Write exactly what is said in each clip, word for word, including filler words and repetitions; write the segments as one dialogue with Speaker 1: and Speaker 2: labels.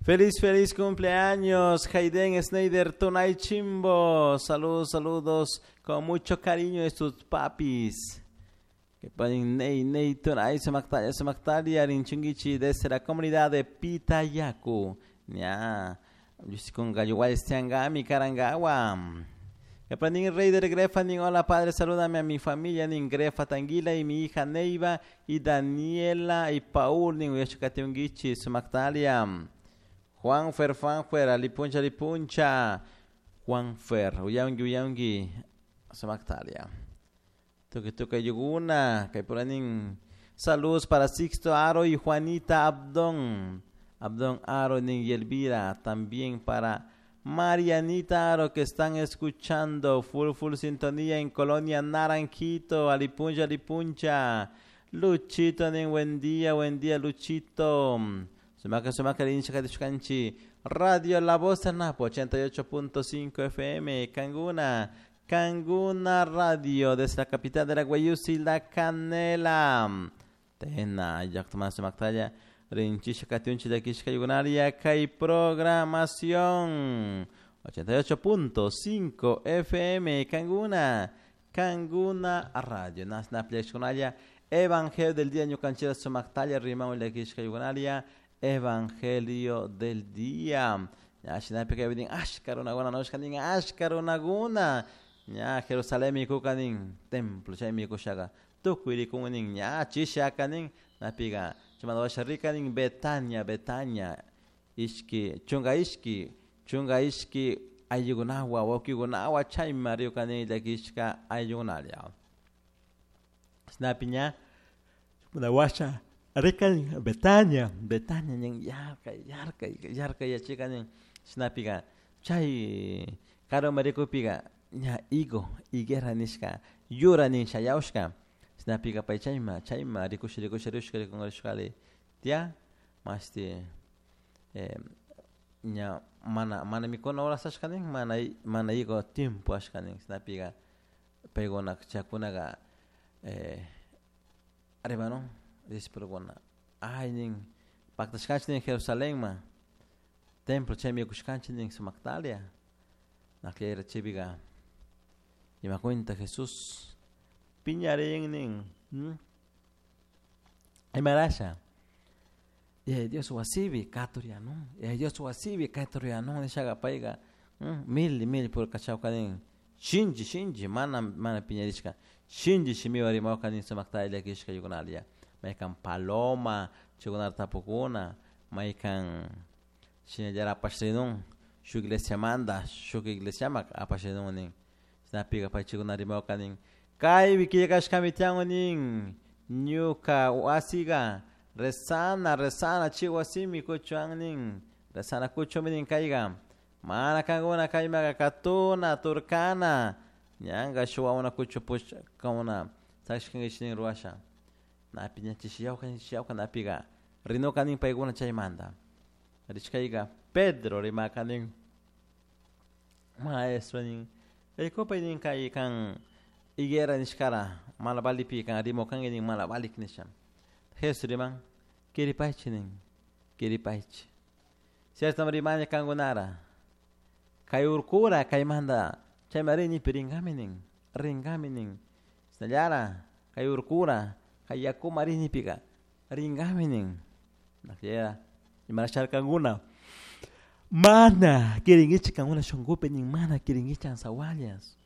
Speaker 1: Feliz, feliz cumpleaños, Hayden Snyder Tunay Chimbo. Saludos, saludos, con mucho cariño de sus papis. Que ponen Ney, Ney, Tunay, Sumaktaya, Sumaktalia, Rinchunguichi, desde la comunidad de Pitayacu. Ya, con Gallo Karangawa. Que ponen Rey de Grefa, nin hola padre, salúdame a mi familia, nin Grefa Tanguila y mi hija Neiva y Daniela y Paul, nin Uyashukatiunguichi, Sumaktalia. Juan Fer, Juan Fer, Alipuncha, Alipuncha, Juan Fer, Uyangi, Uyangi, Sumaktalia. Tuki tuka yuguna, kay saludos para Sixto Aro y Juanita Abdón. Abdón Aro nin y Elvira, también para Marianita Aro que están escuchando full full sintonía en Colonia Naranjito, Alipuncha, Alipuncha. Luchito nin buen día, buen día Luchito. Sumaka sumaka rincha Radio La Voz del Napo ochenta y ocho punto cinco F M, Canguna, Canguna Radio, desde la capital de la Guayusi, La Canela. Tena, Yactomán Sumaktaya, Rinchisha Katiunchi de Kishka Yugunaria, Kai Programación ochenta y ocho punto cinco F M, Canguna, Canguna Radio. Nasna Plexconaria, Evangelio del Día, Ñucanchera Sumaktaya, Rimao de Kishka Yugunaria, Evangelio del Día. Ya, Shinapi Ashkarunaguna, Noshkanin, Ashkarunaguna. Ya, Jerusalén, mi kukanin, templo, chay mi kushaga. Tukuiri kunin, ya, chishakanin, napiga. Chimadawasharikanin, Betania, Betania. Ishki, chunga ishki, chunga ishki, ayugunawa, wakigunawa, chay mariukanin, lakishka, ayugunalia. Snapiña, chimadawasha. Rican Betania, Betania, nin yarka, yarka, yarka, ya nin shinapiga, chay, caro maricupiga, ña higo, higuera nishka, yura nin shayaushka, shinapiga pay chayma, chayma, rikush, rikush, rikush, rikush, tia, masti, eh, ña, mana, mana mikuna horas ashka nin, mana, mana higo tiempo ashka nin, shinapiga, payguna, chakunaga, eh, arriba no, discípulo ay nin pactashkanchik nin Jerusalén ma templo chay mikushkanchik nin Sumaktalia nakllera chaypiqa ima cuenta Jesús piñarin nin imarasha y Dios wasibi katurianun y Dios wasibi katurianun nishaqa payqa mil mil por kachawka nin shinchi shinchi mana mana piñarishka shinchi shimiwan rimawka nin Sumaktalia kishka yukunalia maykan paloma, chukunar tapukuna, maykan shinallara apashrinun, shuk iglesia manda, shuk iglesia mak apashrinun nin. Shinapiga pay chukunar rimawka nin, kaypi killkashkami tiyan nin, ñuka wasiga, rezana, rezana, chay wasimi kuchuan nin, rezana kuchumi nin kayga, mana kankuna kaymaqa katuna, turkana, ñanka shuwauna kuchu pushkuna, sakishkankichik nin ruwasha. Napi ñachishiyawka ñachishiyawka napiga rinuka nin paykuna chaymanta rishkayka Pedro rimaka nin maestro nin rikupay nin kay kan higuera nishkara mana valipi kan rimukanki nin mana valik nisha Jesús riman kiripaychi nin kiripaychi cierto rimani kankunara kay urkura kaymanta chayma rinipi rinkami nin rinkami nin shinallara kay urkura kay yakuma rinipika rinkami nin nakllera imarasharkankuna mana kirinkichik kankuna shunkupi nin mana kirinkichik ansawallas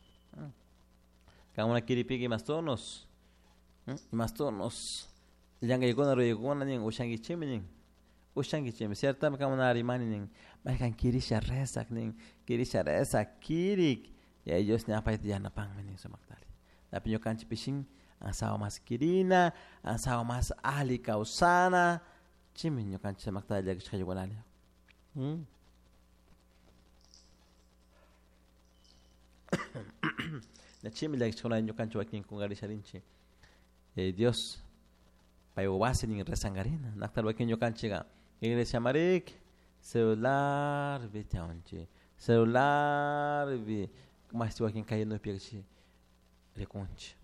Speaker 1: kankuna kiripika imastunos imastunos llankaykuna ruraykuna nin ushankichikmi nin ushankichikmi ciertami kankuna rimani nin maykan kirisha rezak nin kirisha rezak kirik y ellos ña payta yanapanmi nin sumaktali napi ñukanchik pishin ansawa mas kirina, ansawa mas ali kawsana, chimi ñukanchik sumakta llakishka yukunalla. Chimi llakishkuna ñukanchik wakin kunkarisharinchik. Eh, Dios pay wasi nin rezankarina, naktal wakin ñukanchikka iglesia marik, celular vi tiyanchik, celular vi mashti wakin kay nuypi rikunchik.